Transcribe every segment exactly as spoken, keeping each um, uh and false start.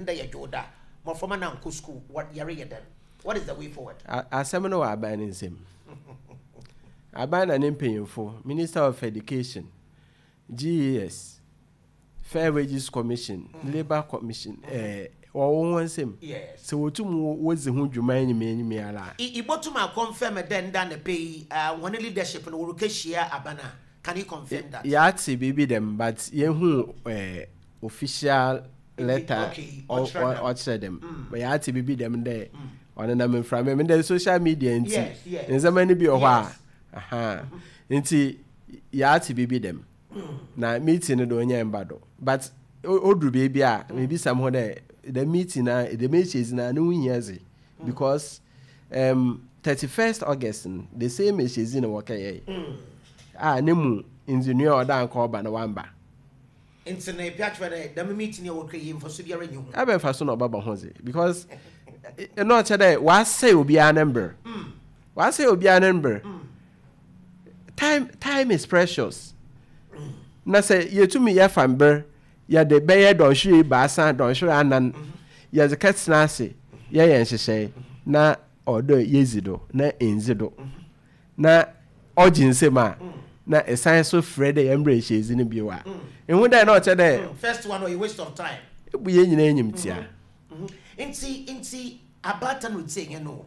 Ndɛ yɛ Dwoda, mmɔframma no ankɔ school. What yɛreyɛ dɛn? What is the way forward? Asɛm no wɔ aban no nsam. Aban na ne mpanyimfo, Minister of Education, G E S, Fair Wages Commission, mm. Labour Commission, ɛɛ wɔwɔ wɔn nsam. Sɛ wotum wodzi ho dwuma enyim enyim ara. Ibotum aconfirm dɛ nda ne pɛ yi, wɔn leadership no wɔrekɛhyia aban a? Can you confirm that? Yɛate biribi dɛm, but yɛhu ɛɛ official letter ɔkyerɛ dɛm. But yɛate biribi dɛm dɛ ɔnenam mframa mu dɛ social media nti ndzɛmba no bi wɔ hɔ a aha nti yɛate biribi dɛm na meeting no de ɔnyɛ mba do, but oduru beebi a mebisa mo ho dɛ the meeting na the meeting na ne ho hia dze, because um, thirty-first August no, the same ehyedzi na wɔkɛyɛ a ne mu ndzinoa a ɔda nka ɔba na wamba. Nti na epi atwerɛ dɛ dɛm meeting a wɔkɛ yi, mfaso biara nyi ho? Ɛbɛn fa so na ɔbɛbɔ ho dze, because ɛno ɔkyɛ dɛ wasɛe obiara ne mber, wasɛe obiara ne mber. time time is precious, na sɛ yɛtumi yɛfa mber yɛde bɛyɛ dɔnhwere baasa, dɔnhwere anan, yɛdze kɛtena ase yɛyɛ nhyehyɛe na ɔdɔ yɛzi do na ndzi do na ɔgye nsɛm a na ɛsan so frɛ dɛ yɛmbrɛ nhyiadzi no bio a, ehu dɛ na ɔkyɛ dɛ first one ɔyɛ waste of time. Ebu yɛn nyinaa enyim tia. nti nti abaatan no tie yɛn no,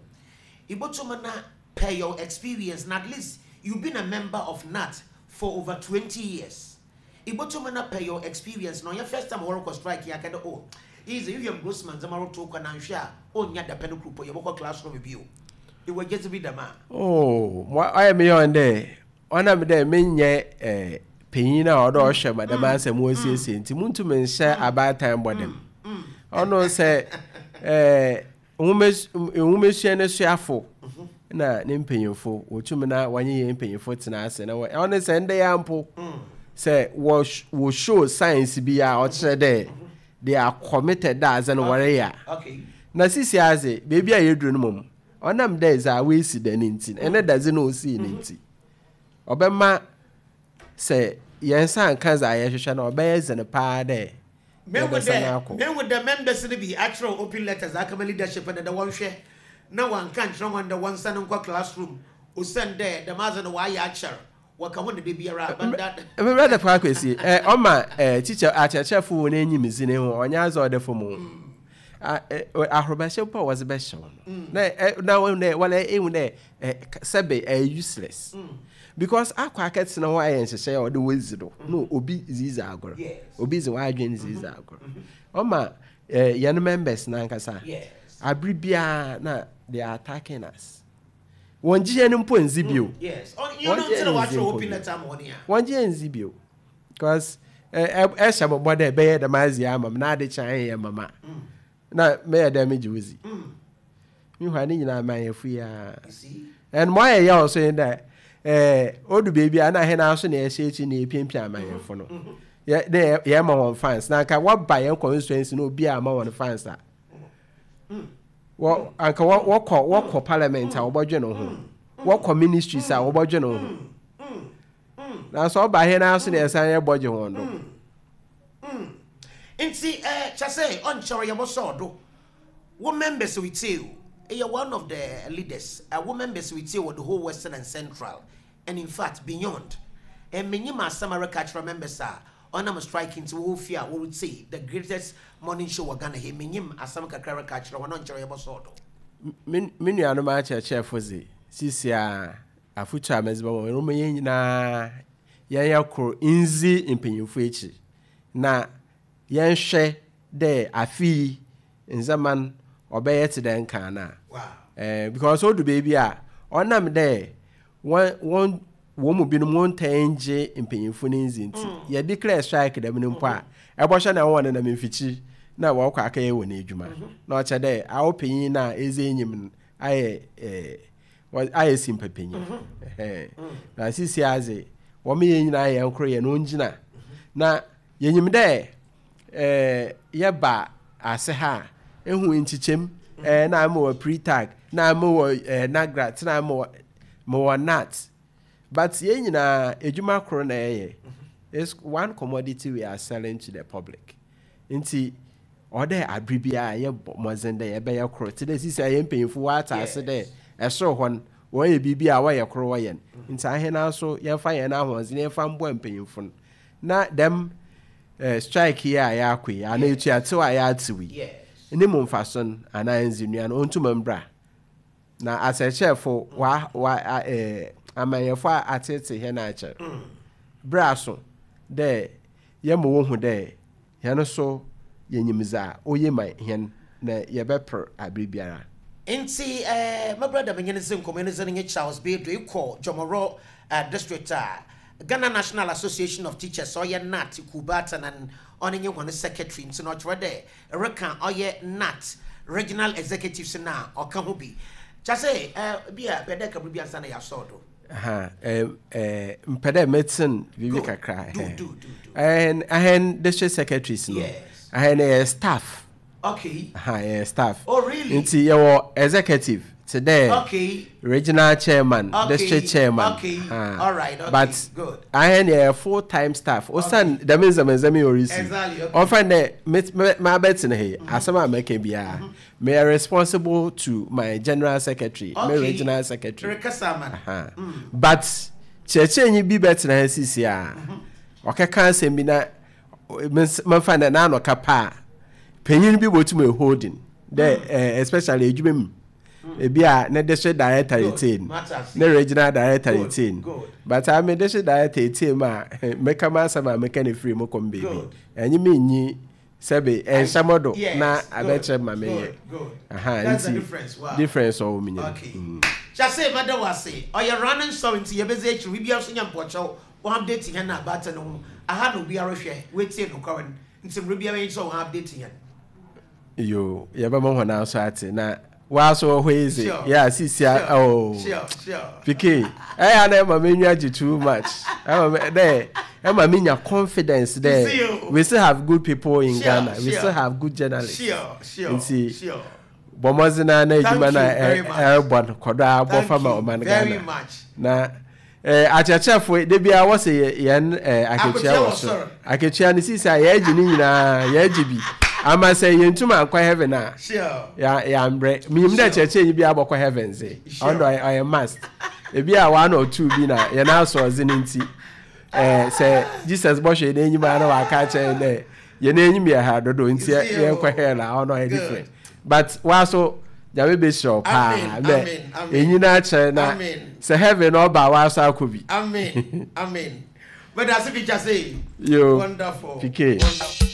ibotum na per your experience na at least you been a member of G N A T for over twenty years, ibotum na per your experience na ɔyɛ first time wɔrekɔ strike yɛ akɛdɛ oh easy William Grossman ndzɛmba roto kɔ na nhwɛ a ɔnya dapɛ no kuropɔ yɛbɔkɔ classroom bio, ìwɔ gyedzi bi dɛm a? Oh, ɔyɛ me yɛn dɛ ɔnam dɛ menyɛ ɛɛ panyin a ɔdɔ ɔhwɛ ma dɛm asɛm wɔsiesie nti muntumi nhyɛ abaatan bɔ dɛm. Ɔno sɛ ɛɛ nwomasua no suafo na ne mpanyinfo wɔtumi na wɔnye yɛn mpanyinfo tena ase na ɔno sɛ ndɛ yɛ mpo sɛ wɔ wɔ show signs bi a ɔkyerɛ dɛ they are committed dɛ adze no wɔreyɛ a, na sisi adze beebi a yɛduru no mom, ɔnam dɛ dza woesi da ne nti, ɛne dadze no osii ne nti, ɔbɛma sɛ yɛn nsa nka dza yɛhwehwɛ no, ɔbɛyɛ dzen paa dɛ yɛbɛsan akɔ. Mehu dɛ members no bi akyerɛw open letters akama leadership no dɛ wɔnhwɛ na wɔnka nkyerɛ wɔn dɛ wɔnsa nkɔ classroom, osiane dɛ dɛm adze no wɔayɛ akyɛr wɔka ho ne de biara banda. Brother Kwakwesi, ɛ ɔma ɛ teacher akyerɛkyerɛfo wɔ n'enyim dzi ne ho ɔnyɛ adze ɔda fam o. Ahorobahyɛ mpo a wɔdze bɛhyɛ wo no na ɛ na wɔn dɛ wɔlɛ ehu dɛ ɛ sɛbe ɛyɛ useless, because akɔ akɛtena hɔ ayɛ nhyehyɛ a ɔde wɔdzi do no, obi zizi agorɔ, obi dzi w'adwene zizi agorɔ. Ɔma ɛ yɛn members n'ankasa abiri biara na they are attacking us. Wɔn gye yɛn mpo nzi bio. Wɔn gye yɛn nzi mpo bio. Wɔn gye yɛn nzi bio because ɛ ɛ ɛhyɛ mo bɔ dɛ ɛbɛyɛ dɛm adze ama m na ade kyɛn ayɛ mama na mɛyɛ dɛ megye wo zi mehwa ne nyinaa ma yɛ fu ya. And mo ayɛ yɛ ɔso yi dɛ ɛɛ odu beebi a na ahɛn aso na ɛhyɛ akyi na epiapia amanyɛfo no yɛ ne yɛ ma wɔn fans na anka wɔba yɛn constituency na obi a ama wɔn fans a wɔ anka wɔ wɔkɔ wɔkɔ parliament a wɔbɔdwe ne ho, wɔkɔ ministries a wɔbɔdwe ne ho, nanso ɔba ahɛn aso na yɛsan yɛ bɔgye wɔn do. Nti ɛɛ kyɛ sɛ ɔnkyɛrɛ yɛbɔsɔɔ do wo members with you, ɛyɛ one of the leaders, uh, wo members with you wɔ the whole Western and Central and in fact beyond. Ɛmɛnyi ma asɛm a reka kyerɛ members a ɔnam strike nti wɔwɔ fie a wɔretie The Greatest Morning Show wɔ Ghana he, menyim asɛm kakra reka kyerɛ wɔn, ɔnkyɛrɛ yɛbɔsɔɔ do. Me me nuanom akyerɛkyerɛfo dze, sisi a afotu a mɛdze bɛma wɔn, wɔn yɛn nyinaa yɛnyɛ koro ndzi mpanyinfo akyi na yɛnhwɛ dɛ afe yi ndzɛmba no ɔbɛyɛ te dɛ nkan na ɛɛ because odu beebi a ɔnam dɛ wɔn wɔn wɔn mu binom wɔn ntɛn ngye mpanyinfo ne ndzi nti mm. yɛ declare strike dɛm no mpo a, ɛbɔhwɛ na wɔn nenam mfikyiri na wɔkɔ akɛyɛ wɔn adwuma mhm. na ɔkyɛ dɛ awo panyin na edzi enyim no ayɛ ɛɛ ayɛ simpa panyin mhm. ɛhɛn mm. Na sisi adze wɔn yɛn nyinaa yɛn koro yɛn ongyina na yɛnyim dɛ ɛɛ yɛba ase ha a ehu nkyekyɛm ɛɛ na ama wɔ pre-tag na ama wɔ ɛɛ NAGRAT na ama wɔ ma wɔ G N A T, but yɛn nyinaa edwuma koro na yɛyɛ. It's one commodity we are selling to the public, nti Ɔdɛ abere biara yɛbɔ mmɔdzen dɛ yɛbɛyɛ koro te dɛ sisi a yɛn mpanyinfo wɔate ase dɛ ɛsoro hɔ no wɔyɛ biribi a wɔyɛ koro wɔyɛ no, nti ahena nso yɛmfa yɛn ahoɔdzen yɛmfa mboa mpanyinfo no na dɛm eh, strike yi a yɛakɔ yi anaa etuatew a yɛatew yi Yes. ne mu mfaso no anaa nzinua no ɔntuma mbra na asɛkyerɛfo wa wa a- eh, amanyɛfo a atete hɛn akyɛr berɛ aso dɛ yɛma wohu dɛ hɛn so yɛnyim dza oye ma hɛn na yɛbɛper abere biara. Nti eh, my brother, menye ne sɛ nkɔmmɔ ne sɛ no nye Charles Bedro ekɔ Jomoro uh, district a Ghana National Association of Teachers, ɔyɛ GNAT kubata na ɔne nye hɔn secretary, nti na ɔkyerɛ dɛ ɛreka ɔyɛ GNAT regional executives na ɔka ho bi kyɛ sɛ eh, bi a pɛ dɛ kabere bi ansa na yɛasɔɔ do. Aha, eh, eh, mpɛ dɛ mɛten biribi Go. kakra. Do, eh. do, do, do. Ahɛn ahɛn district secretaries no, Yes. ahɛn yɛ staff. Okay aha, yɛ staff. Oh, really? Nti yɛwɔ executive te dɛ okay regional chairman, Okay, district chairman. okay, Ah. all right, okay, but good. ahɛn yɛ full time staff osan dɛm nzɛmnzɛm yi orisi. Exactly, okay. Ɔfɛn dɛ mabɛtena ha yi, asɛm a mɛka biara, meyɛ responsible to my general secretary, my Okay. regional secretary. Rekasa man. Aha. But kyerɛkyerɛnyi bi bɛtena ha sisi a ɔkɛka asɛm bi na mɛmfa dɛ n'ano ka pa a panyin bi bɔtum holding dɛ eh, especially edwuma mu ebi a ne district director Good. retain Matters. ne regional director Good, retain, good. but ame district director retain mu a mɛka m asɛm a mɛka ne firi mu kɔm beebi Good. ɛnye me nyi sɛbe ɛnhyɛ mo do Yes, na good, abɛkyerɛ ma meyɛ. good, good. Aha, That's the nti difference. Wow. Difference ɔwɔ mu nyina. Okay. Kyase mada wase. Ɔyɛ running story nti yɛbɛdze akyiri biribiara so nya mpɔkyɛw wɔn update yɛn na abata no ho aha na obiara hwɛ wetie no kɔrɔ nti mmerɛ biara yi sɛ wɔn update yɛn. Yo, yɛbɛma hɔn aso ate na waaso wɔ hɔ yi dze Sure. yɛ a sisi a oh. Sure, sure. P K, ɛyɛ na ɛma me nwa gye too much, ɛma me dɛ ɛma me nya confidence You dɛ see o. we still have good people in Sure, Ghana, we sure. still have good journalists. Sure, sure, Nti sure. bɔ mmɔdzen na na Thank edwuma na you very much. ɛrebɔ no kɔdɔ abɔ Thank fama you ɔman very Ghana much. na eh, akyerɛkyerɛfo de bia wɔsɛ yɛ- yɛn eh, akatua Akatua wɔ wɔ so. soro. Akatua no sisi a yɛagye ne nyinaa, yɛagye bi ama sɛ yɛntum ankɔ heaven a Sure. ya yɛambrɛ menyim dɛ Sure. kyerɛkyerɛnyi bi abɔkɔ heaven dze. Sure. Ɔno ɔyɛ ɔyɛ must. Ebi a one or two bi na yɛn asɔ ɔdze ne nti ɛɛ sɛ Jesus bɔhwɛ yɛn enyim a na waka akyerɛ yɛn dɛ yɛn enyim yɛ ha dodo nti See you. yɛnkɔ hell a ɔno ɔyɛ Good. different, but waso Nyame bɛhyira wo paa. Amen, Mɛ amen, amen. enyi na akyerɛ na Amen. sɛ heaven na ɔba a waso akɔ bi. Amen. Amen. But that's a picture say. Yo. Wonderful. P K. Wonderful.